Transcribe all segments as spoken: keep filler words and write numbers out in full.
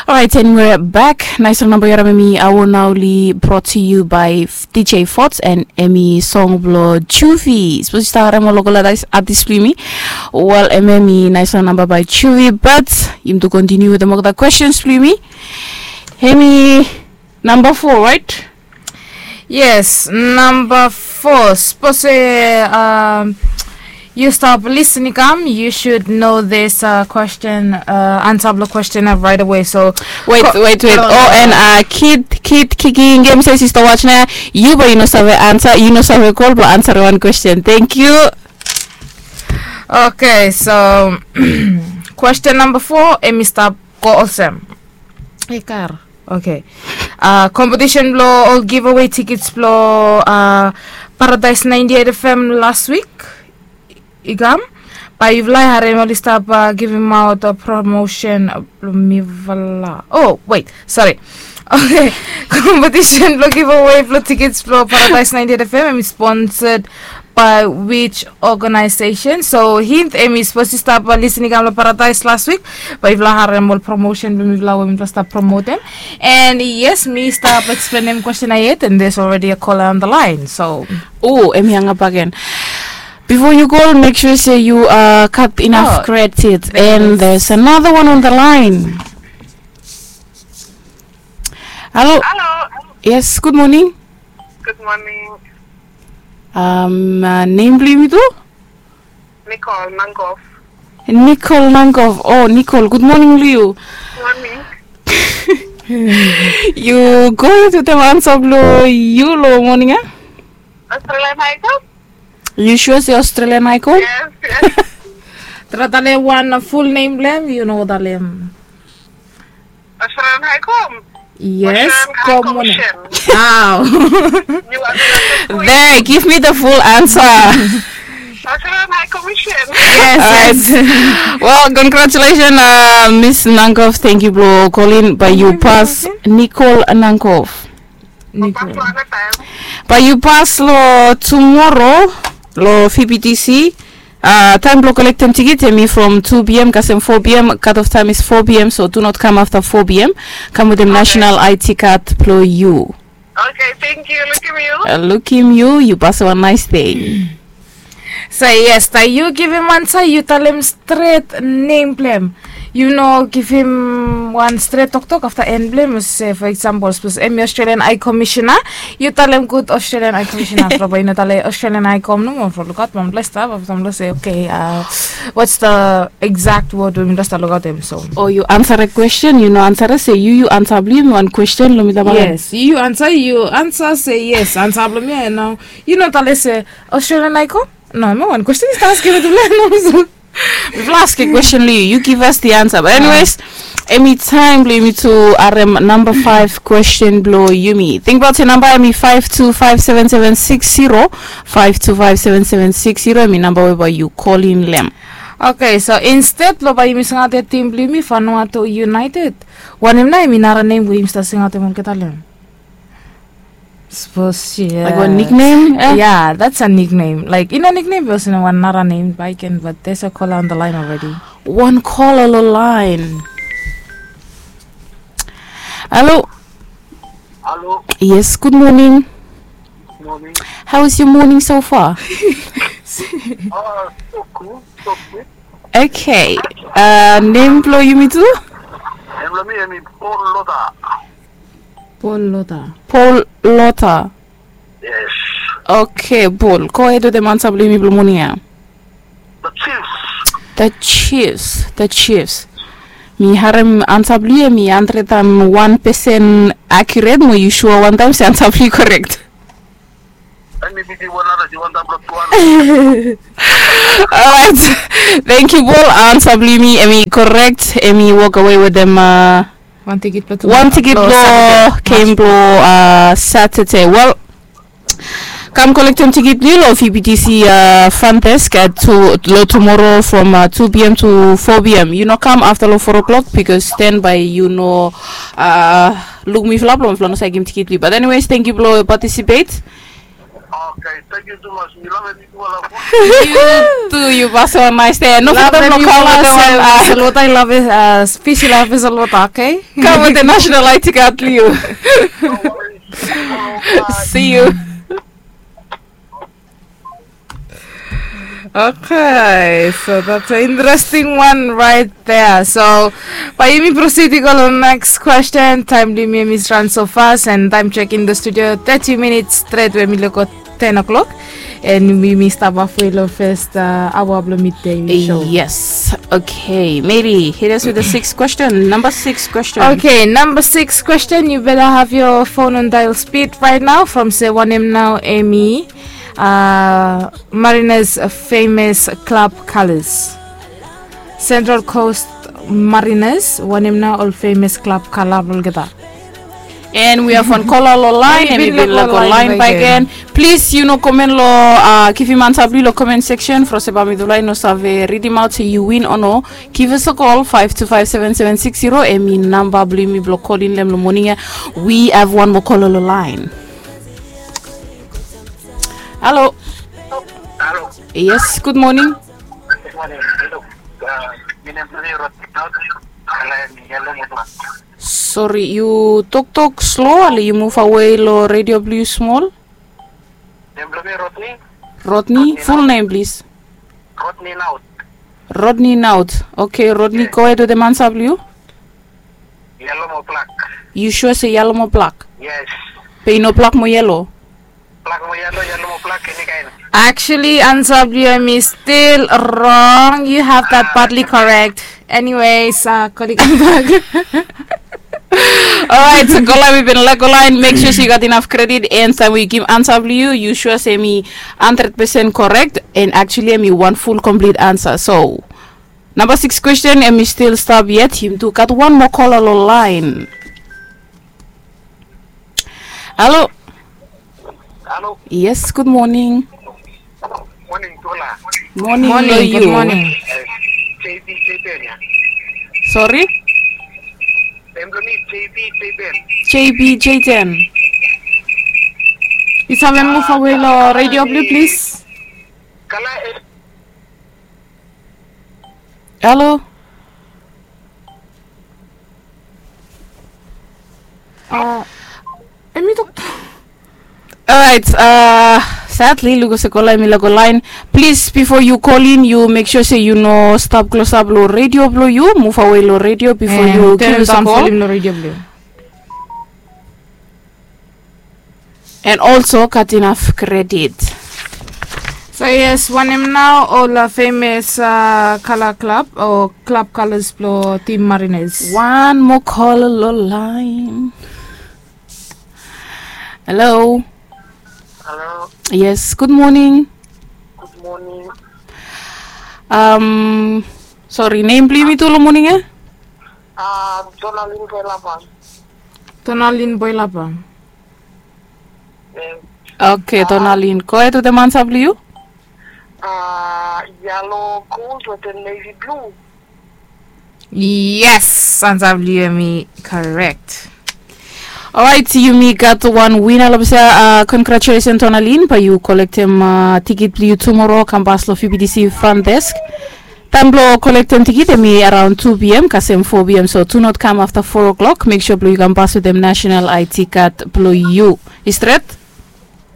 Alright, and we're back. Nice namba yu harem, hemi Awo Nauli, brought to you by DJ Fots, and hemi song blo Juvie. Sapos yu stap harem ol local artist, artist blo yumi. Wel, hemia hemi nice namba by Juvie, but yumi tu continue wetem olgeta questions blo yumi. Hemi namba four, right? Yes, namba four. Sapos, eh, um, yu stap lisin i kam, you should know this, uh, question, uh, ansa blo question ya right away. So, wait, wait, wait. Oh, and, uh, Kid, Kid Kiki Game says yu stap watch nao ya. Yu bae yu no save ansa, yu no save kol blo ansarem wan question. Thank you. Okay, so question namba four, hemi stap go olsem. Hey, kar. Okay. Uh, competition blo ol giveaway tickets blo, uh, Paradise ninety-eight F M last week i kam. Bae yufala i harem oli stap, uh, givim aot, uh, promotion, uh, blo mifala. Oh, wait, sorry. Okay. Competition blo giveaway blo tickets blo Paradise ninety-eight F M hemi sponsored by which organization? So hint, hemi sapos yu stap, uh, lisin i kam lo Paradise last week, bae yufala harem ol promotion blo mifala we mifala stap promotem. And yes, mi stap explanem question ya yet, and there's already a caller on the line. So, oh, hemi hang up again. Bifo yu kol, make sure se yu, uh, cut enough credit. And there's another one on the line. Halo. Halo. Yes, gud moning. Gud moning. Um, uh, nem blo yumi tu? Nicole Nangov. Nicole Nangov. Oh, Nicole, gud moning blo yu. Moning. Yu go wetem ansa blo yu lo moning ya? Australian Icon. Yu sua se Australian Icon? Yes, yes. Trae talem wan full nem blo hem, yu no talem. Australian High Com. Yes, Australian High Commission. Wow. There, give me the full answer. Australian High Commission. Yes, yes. Well, congratulations, uh, Miss Nankov. Thank you blo kolin, bae yu pas Nicole Nankov. Nicole. Bae yu pas lo tumoro lo V B T C. Uh, taem blo kolektem tikit hemi from two P M kasem four P M. Cut off time is four P M, so do not come after four P M. Kam wetem national I D card blo yu. Okay, thank you. Lukim yu. Uh, lukim yu, yu pas wan nice day. So yes, taem yu givim ansa, yu talem stret nem blo hem. Yu no givim wan stret toktok afta en blo hem. Se for example, sapos hemi Australian High Commissioner, yu talem gud Australian High Commissioner. Afta bae yu no talem Australian High Com nomo, from lukaot wan ples stap, afta mifala se, okay, uh, what's the exact word we mifala stap lukaotem? So, o yu ansarem question, yu no ansarem se yu, yu ansa blo yu hemi wan question lo mifala. Yes, yu ansa, yu ansa se yes, ansa blo mi ya nao. Yu no talem se Australian High Com? No, hemi wan question i stap askem mifala. Mifala askem question lo yu, yu give us the answer. But anyways, hemi taem blo yumi tu harem namba five question blo yumi. Tingbaot se namba hemi five two five seven seven six zero, five two five seven seven six zero, hemi namba we bae yu kolin lo hem. Okay, so instead lo bae yumi singaot tim blo yumi Vanuatu United, wanem nao hemi nara nem we yumi stap singaotem olgeta lo hem? Sapos, yeah. Like wan nickname, eh? Yeah, that's a nickname. Like, i no nickname, be olsem wan nara nem bae i ken, but there's a caller on the line already. Wan caller lo laen. Halo. Halo. Yes, gud moning. Moning. How is your morning so far? Uh, so good, so good. Okay. Uh, nem blo yumi tu? Nem blo mi hemi Paul Lota. Paul Lota. Paul Lota. Yes. Okay, Paul. Go ahead wetem ansa blo yumi blo moning ya. The Chiefs. The Chiefs. The Chiefs. Mi harem ansa blo yu, hemi hundred and one percent accurate, mo yu sua wan taem se ansa blo yu correct? Alright. Thank you, Paul. Ansa blo yumi hemi correct. Hemi walk away wetem, uh, wan tikit blo, wan tikit blo game blo, uh, Saturday. Well, kam kolektem tikit blo yu lo V B T C, uh, front desk at two, lo tumoro from, uh, two P M to four P M. Yu no kam afta lo four o'clock, because then bae yu no, uh, luk mifala, blo mifala no save givim tikit blo yu. But anyways, thank you blo participate. Okay, thank you too much. Mi love you too, love. You too, you pass one nice day. No forget to call us and, uh, Solwata, I love it. Uh, fish, I love it, Solwata, okay? Come with the national I T card, Leo. No worries. See you. Okay, so that's an interesting one right there. So, bae yumi proceed i go long next question. Taem blong yumi hemi run so fast, and time check in the studio, thirty minutes stret we hemi luko ten o'clock. And yumi stap halfway long first, uh, aoa blong midday show. Yes. Okay, Mary, hit us with the sixth question. Number six question. Okay, number six question. You better have your phone on dial speed right now. From se wanem nao hemi, uh, Mariners famous club colors. Central Coast Mariners, wanem nao ol famous club color blong olgeta. And we have one caller long line, and we bin lako line bakegen. Plis, yu no komen long, uh, givim ansa blong yu long comment section. From se bae mi dulai no save read him out se yu win o no. Give us a call, five two five seven seven six zero, hemi namba blong yumi blong call in long moning ia. We have one more caller long line. Hello. Hello. Yes, good morning. Good morning. Hello. Uh, mi nem Tony Rodney Naut. Kala hemi Yellow Moblak. Sorry, yu toktok slow, ale yu muv awe long radio blong yu smol. Nem blong mi Rodney. Rodney, full name, please. Rodney Naut. Rodney Naut. Okay, Rodney, go ahead with the ansa blong yu. Yellow Moblak. Yu sua se yellow moblak? Yes. Be i no blak mo yellow? Blak mo yellow, yellow moblak, eni kaen. Actually, ansa blong yu hemi still wrong. You have that partly correct. Anyways, uh, kolim bak. Alright, so caller, we bin lako line. Make sure se yu gat inaf kredit, and taem we givim ansa blong yu, yu sua se hemi hundred percent correct, and actually hemi wan full complete ansa. So, number six question, hemi still stap yet. Yumi tu gat wan moa caller long line. Hello. Hello. Yes, good morning. Morning, Tola. Morning, morning, good morning. Eh, J B J ten ia. Sorry? Em, J B J ten. J B J ten. Yu save muv awe long radio blong yu, please. Kala, eh, Hello. Uh, hemi tok. Alright, uh, sadly, luko se caller hemi lako line. Please, before you call in, yu make sure se yu no stap klosap long radio blong yu, muv awe long radio before yu give us a call. And also gat inaf kredit. So yes, wanem nao ol, uh, famous, uh, kala klab o klab kalas blong tim Mariners? Wan moa caller long line. Hello. Hello. Yes, good morning. Good morning. Um, sorry, nem blong yumi tu long moning ia? Um, Tonalin Boilapang. Tonalin Boilapang. Okay, Tonalin, go ahead with the ansa blong yu. Uh, yellow gold with the navy blue. Yes, ansa blong yu hemi correct. Alright, yumi gat wan wina long ples ia. Uh, congratulations, Tonalin. Bae yu kolektem, uh, tikit blong yu tumora, kambas long V B T C front desk. Taem blong kolektem tikit hemi araon two P M kasem four P M, so do not come after four o'clock. Make sure blong yu kambas wetem national I D card blong yu. I stret?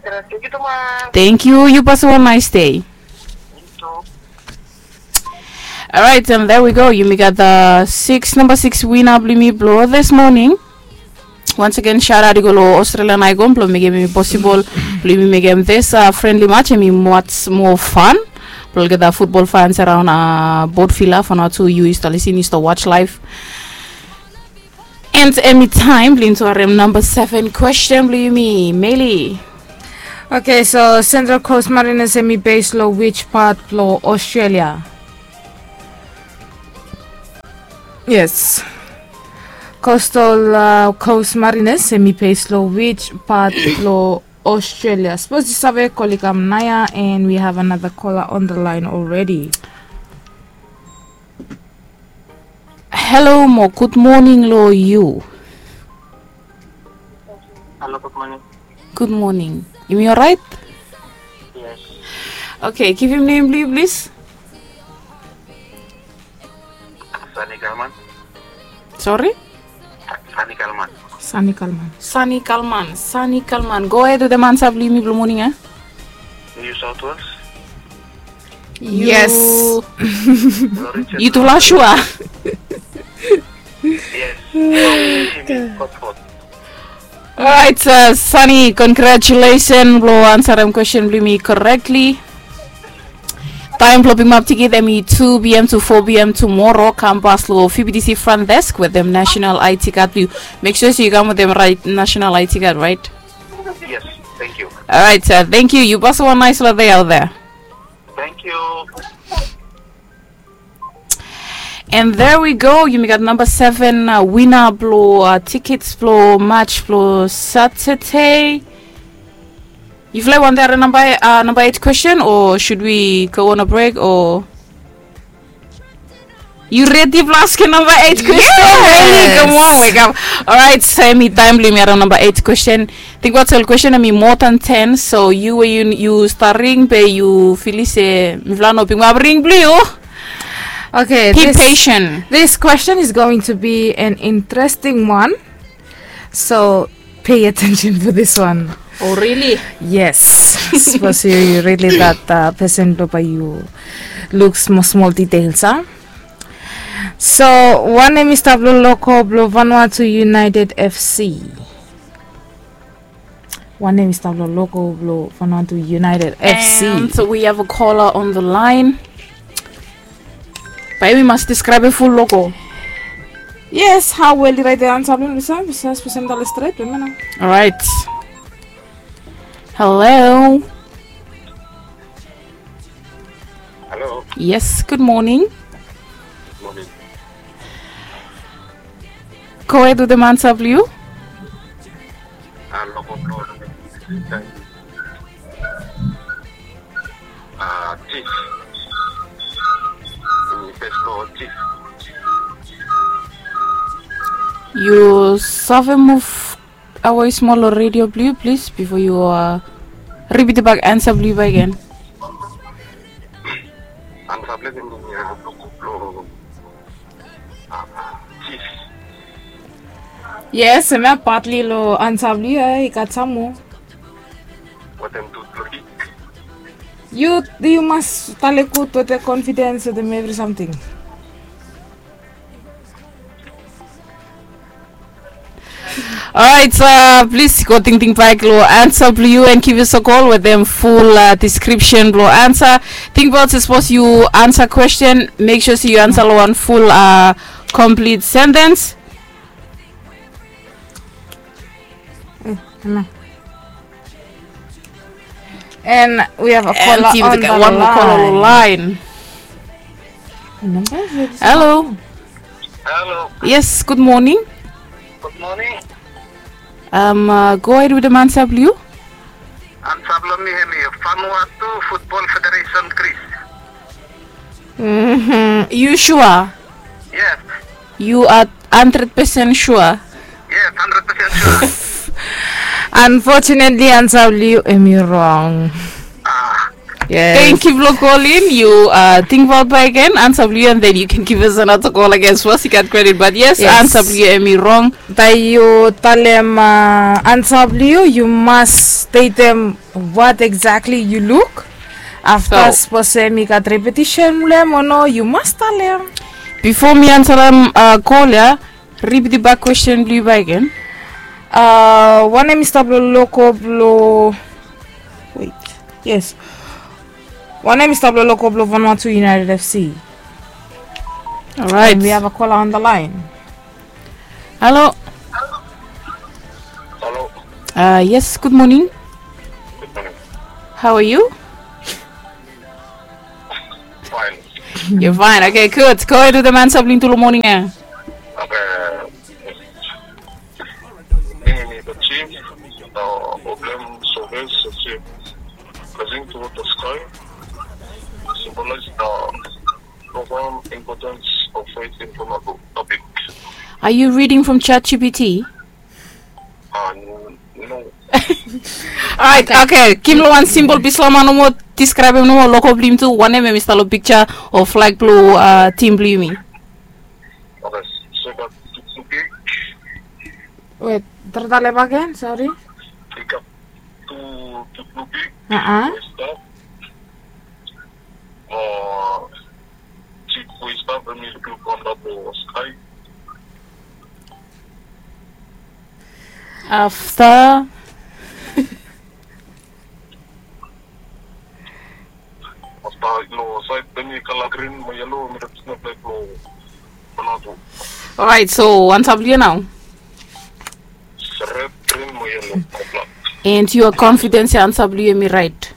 Stret, thank you too much. Thank you. Yu pasem wan nice day. You too. Alright, and there we go. Yumi gat the six, number six wina blong yumi blong this morning. Once again, shout out i go long Australian Icon blong mekem hemi possible blong yumi mekem this, uh, friendly match, hemi much more fun blong olgeta football fans around, uh, Port Vila. For now tu yu i stap lisin, yu stap watch live. And hemi taem blong yumi tu harem number seven question blong yumi, Meli. Okay, so Central Coast Mariners hemi base long which part blong Australia? Yes. Coastal, uh, Coast Mariners hemi base long which part blong Australia? Sapos yu save, kol i kam naoia, and we have another caller on the line already. Hello mo, good morning long yu. Hello, good morning. Good morning. Yumi alright? Okay, givim nem blong yu plis. Sani Kalman. Sorry? Sani Kalman. Sani Kalman. Sani Kalman. Sani Kalman. Go ahead wetem ansa blong yumi blong moning ya. New South Wales. Yes. Yu tufala sua? Yes. Orait, Sani, congratulation blong ansarem kwesten blong yumi correctly. Taem blong pikimap tikit em i two p.m. to four p.m. tumora. Kam pas long F B T C front desk wetem national I D card blong yu. Mek sua se yu kam wetem raet national I D card, raet? Yes. Thank you. Orait, thank you. Yu pasem wan naesfala dei aot ya. Thank you. And there we go, yumi gat namba seven wina blong tikits blong match blong Satade. Yufala i wantem harem namba eit kwesten o should we go on a break o? Yu redi blong askem namba eit kwesten? Yes. Come on, wake up. Orait, so em i taem blong yumi harem namba eit kwesten. Tingbaot se ol kwesten em i moa dan ten, so yu we yu stap ring be yu filim se mifala no pikimap ring blong yu. Okay, be patient. This question is going to be an interesting one. So pay attention for this one. Oh, really? Yes. Sapos yu rili gat pesen blong bae yu luk smol smol details, a? So wanem i stap long logo blong Vanuatu United F C? Wanem i stap long logo blong Vanuatu United F C? And we have a caller on the line. Bae yumi mas describe ful logo. Yes, hao wel i raet ansa blong yumi? Bisa, bisa, bisa mi tale stret, be mi no. Orait. Hello. Hello. Yes, good morning. Morning. Go ahead wetem ansa blong yu. Ah, logo blong, ah, Chief. Mm, best logo Chief. Yu save muv awe smol long redio blong yu plis bifo yu, ah, ripit bak ansa blong yu bakegen. Ansa blong yu, ah, logo blong, ah, Chief. Yes, hemia patli long ansa blong yu, ah, i gat sam moa. Wetem tu blong yu. Yu, yu mas tale gud wetem confidence wetem evri samting. Orait, plis go tingting bak long ansa blong yu and givim us a call wetem ful description blong ansa. Tingbaot se sapos yu ansa kwesten, mek sua se yu ansa long wan ful complete sentence. And we have a caller on the line. Hello. Hello. Yes, good morning. Good morning. Go ahead wetem ansa blong yu. Ansa blong mi hemi Vanuatu Football Federation, Chris. Yu sua? Yes. Yu a handred pesen sua? Yes, handred pesen sua. Unfortunately, ansa blong yu hemi rong. Ah. Yes. Thank you blong kolin. Yu tingbaot bakegen ansa blong yu, and then you can give us another call again. Sapos yu gat credit, but yes, ansa blong yu hemi rong. Taem yu talem ansa blong yu, yu mas stetem what exactly yu luk. Afta sapos hemi gat repetition blong hem o no, yu mas talem. Bifo mi ansarem call ya, ripit bak kwesten blong yu bakegen. Wanem i stap long logo blong, wait, yes. Wanem i stap long logo blong Vanuatu United F C? Orait. And we have a caller on the line. Hello. Hello. Yes, good morning. Good morning. How are you? Fine. You're fine. Okay, good. Go ahead wetem ansa blong yu tu long moning ya. Okay. Mi hemi Chief, uh, Oblem Soves, Chief. Rising toward the sky symbolize the profound importance of faith in Vanuatu. Are you reading from ChatGPT? Uh, n-, no. Orait, okay. Givim long wan simple Bislama nomo. diskraebem nomo logo blong yumi tu, wanem hemi stap long piksa o flag blong, uh, tim blong yumi. Wet, talem bagen, sori. Aa. Afta. Orait, so ansa blong yu nao? And yu a confident se ansa blong yu hemi raet?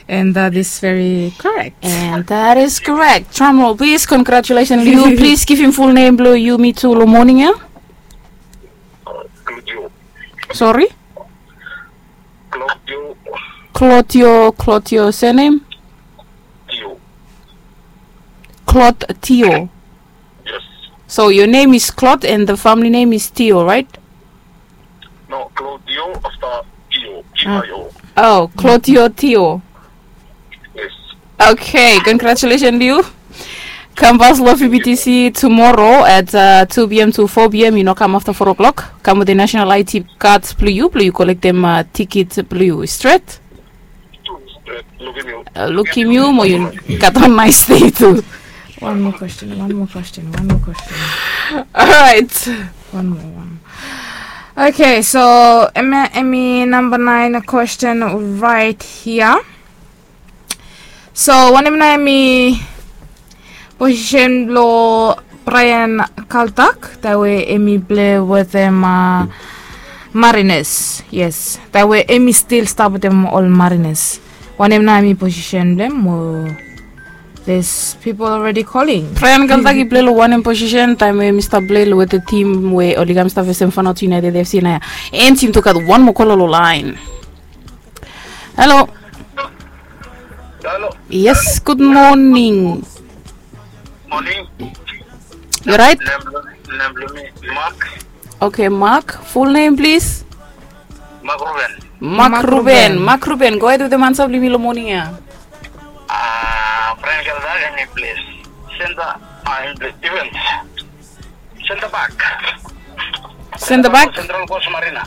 And that is very correct. And that is correct. Drum roll, please. Congratulations, Leo. Please givim full name blong yumi tu long moning ya. Sori? Claudio, Claudio surname? Claude Tio. So your name is Claude and the family name is Tio, right? No, Claudio afta Tio, T I O. Oh, Claudio Tio. Okay, congratulations, Leo. Kam pas long F B T C tomorrow at, uh, two p.m. to four p.m. Yu no kam afta four o'clock. Kam wetem national I D card blong yu, blong yu kolektem, uh, tiket blong yu. Stret? Lukim yu. Uh, lukim yu mo yu gat wan nice day tu. One more question, one more question, one more question. Alright. One more, one more. Okay, so hemi, hemi namba naen question right here. So wanem nao hemi posisen blong Brian Kaltak, taem we hemi pilei wetem, uh, Mariners? Yes, taem we hemi stil stap wetem ol Mariners. Wanem nao hemi posisen blong hem? Mo there's people already calling. Brian Kaltak i pilei long wanem posisen taem we hemi stap pilei long wetem tim we oli kam stap fesem Fanoto United F C nao ya? And yumi tu gat wan moa kola long laen. Halo. Halo. Yes, gud moning. Moning. Yu orait? Nem blong mi Mark. Okay, Mark. Full name, please. Mark Ruben. Mark Ruben. Mark Ruben. Go ahead wetem ansa blong yumi long moning ya. Ah, Frank Elder, hemi pilei senta, ah, hemi pilei defens. Senta bak. Senta bak? Central Coast Marina.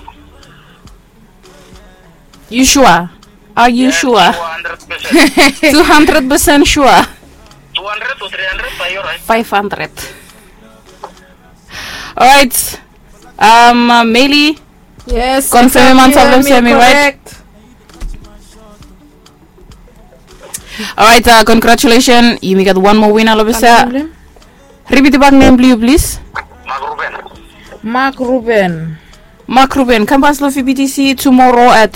Yu sua? Are yu sua? Sua, hundred percent. Tu handred pesen sua? Tu handred tu tri handred, bae yu orait. Faef handred. Orait. Meli. Yes. Konfemem ansa blong hem se hemi raet. Orait, congratulesen. Yumi gat wan moa wina long ples ya. Ripitim bak nem blong yu, plis. Mark Ruben. Mark Ruben. Mark Ruben, kam pas long F B T C tomorrow at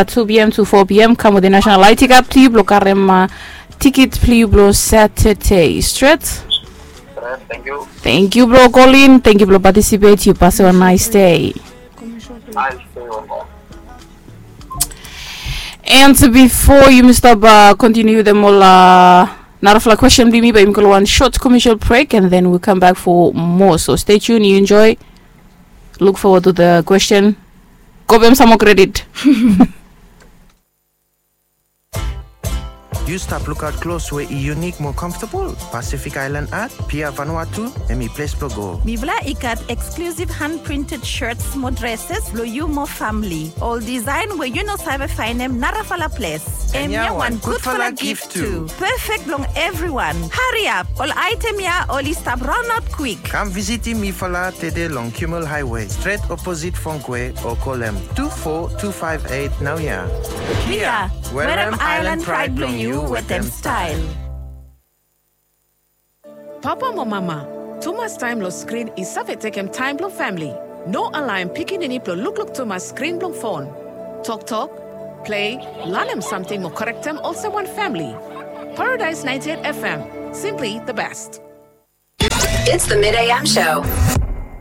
two p.m. to four p.m. Kam wetem national I D card blong yu blong karem tiket blong yu blong Saturday. Stret? Stret, tangkiu. Tangkiu blong kolin, tangkiu blong patisipet. Yu pasem wan nice day. Nice day. And bifo yumi stap kontiniu wetem ol narafala kwestin blong yumi, bae yumi go long wan sot commercial break and then we come back for more. So stay tuned, yu enjoy. Look forward to the question. Go bae, sam moa kredit. Yu stap lukaot klos we i yunik mo komfotabol? Pacific Island Art, Pier Vanuatu, hemi ples blong go. Mifala i gat exclusive hand printed shirts mo dresses blong yu mo famili. Ol design we yu no save faenem narafala ples. Hemia wan gudfala gif tu. Perfect blong evriwan. Hariap, ol aetem ya oli stap raonaot kwik. Kam visitim mifala tede long Kimmel Highway, stret oposit Fongkwe, o kolem tu fo tu faef eit naoia. Pier, werem aelan praed blong yu wetem stael. Papa mo mama, tumas taem long skrin i save tekem taem blong famili. No alaem pikinini blong lukluk tumas skrin blong fon. Toktok, plei, lanem samting mo korektem olsem wan famili. Paradise ninety-eight F M, simply the best. It's the Mid A M show.